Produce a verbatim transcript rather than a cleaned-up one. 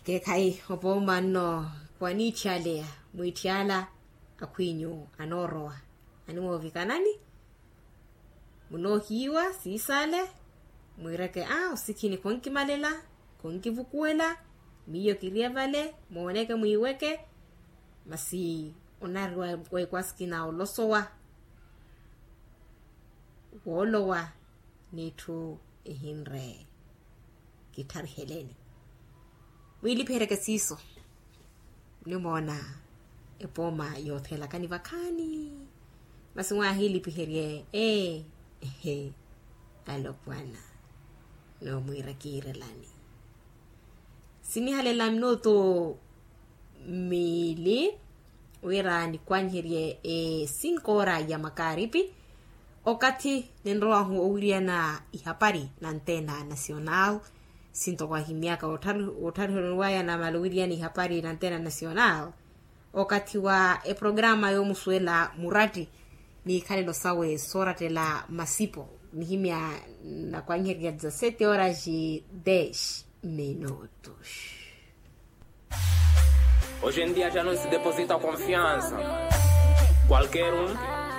Keekhayi opooma nno, khwaniitthiyaleya mwiitthiyala akhw'inyu anoorowa animoovikanani. Munoohiiwa siisale mwiireke a osikhini khonkimalela, khonkivukuwela. Miyo kiriye vale mooneke mwiiweke. Masi onari wa ekwasikina olosowa woolowa n'itthu ehinre kitthariheleni. Mwiilipiheryeke siiso. Nimoona epooma yoothelakani vakhaani. Masi mwaahiilipiherye ee ehe alopwana. Noomwiira kiirelani sinihalela minutu miili wira nikwanyiherye e cinco ora ya makaaripi. Okathi ninrowahu owiriyana ihapari na antena nacional. Sinto kwahimyaka otthariheroniwaya namala owiriyana ihapari na antena nacional. Okathi wa eprograma yoomusuwela muratti n'ikhalelo sawe soorattela masipo. Nihimya nakwanyiherya dezasete horas e dez minutos. Hoje em dia já não se deposita confiança. Qualquer um